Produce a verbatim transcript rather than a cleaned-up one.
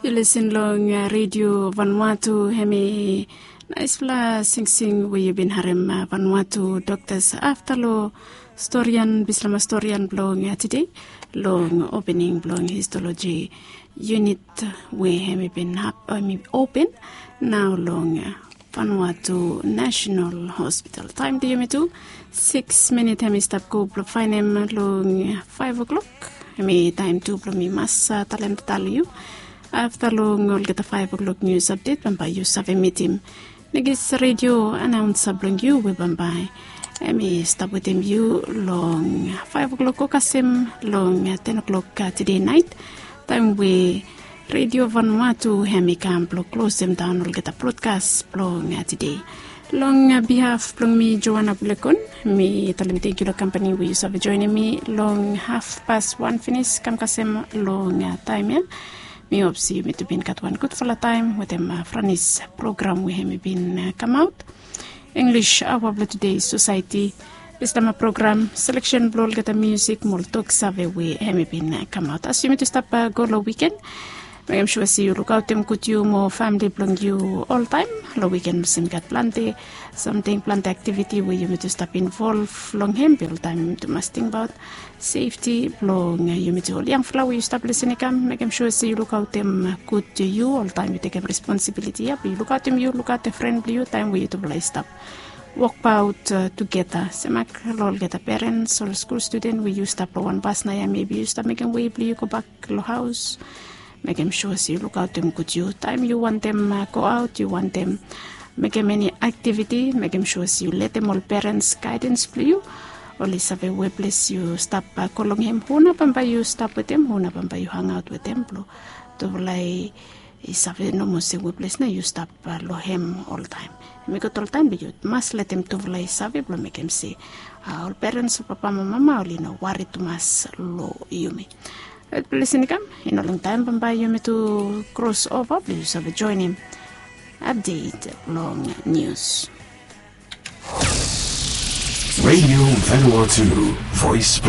Lesen long redio Vanuatu, hemi naispela singsing we yu bin harim Vanuatu doktas afta long storian bislama storian blong tide long opening blong histoloji unit we hemi bin hap hemi open nao long Vanuatu National Hospital. Taem de yumi tu siks minit hemi stap go blong faenem long faev o'klok. Hemi taem tu blong mi mas talem tatal yu afta long olgeta faev o'klok nius apdet bambae yu save mitim nekis redio anaonsa blong yu we bambae hemi stap wetem yu long faev o'klok go kasem long ten o'klok tide naet, taem we redio Vanuatu hemi kam blong klosem daon olgeta brodkas blong tide. Long bihaf blong mi Joana Bulekon, mi talem tangkiu long kampani we yu save joenem mi long hafpas wan finis kam kasem long taem ya. Mi hop se yumi tu bin gat wan gudfala taem wetem Franis program we hemi bin kamaot. English aoa blong tude, sosaeti, bislama program, seleksen blong olgeta musik mo ol toksave we hemi bin kamaot. As yumi tu stap go long wiken, mekem sua se yu lukaotem gud yu mo famili blong yu oltaem. Long wiken olsem i gat plante samting, plante aktiviti we yumi tu stap involv long hem. Be oltaem yumi tu mas tingbaot sefti blong yumi tu. Ol yangfala we yu stap lesen i kam, mekem sua se yu lukaotem gud yu oltaem. Yu tekem responsibiliti ya blong yu lukaotem yu, lukaotem fren blong yu taem we yutufala i stap wokbaot tugeta. Semak long olgeta perens, ol skul studen we yu stap long wan bas naoia, mebi yu stap mekem wei blong yu gobak long haos. Mekem sua se yu lukaotem gud yu taem yu wantem goaot, yu wantem mekem eni aktiviti, mekem sua se yu letem ol perens gaedens blong yu, oli save weples yu stap go long hem, hu nao bambae yu stap wetem, hu nao bambae yu hangaot wetem blong tufala i save nomo se weples nao yu stap long hem oltaem. Hemi gud oltaem blong yu mas letem tufala i save blong mekem se ol perens, ol papa mo mama oli no wari tumas long yumi. Rait, blong lesen i kam, i no longtaem bambae yumi tu kros ova blong yu save joenem apdet long nius. Radio Vanuatu, voice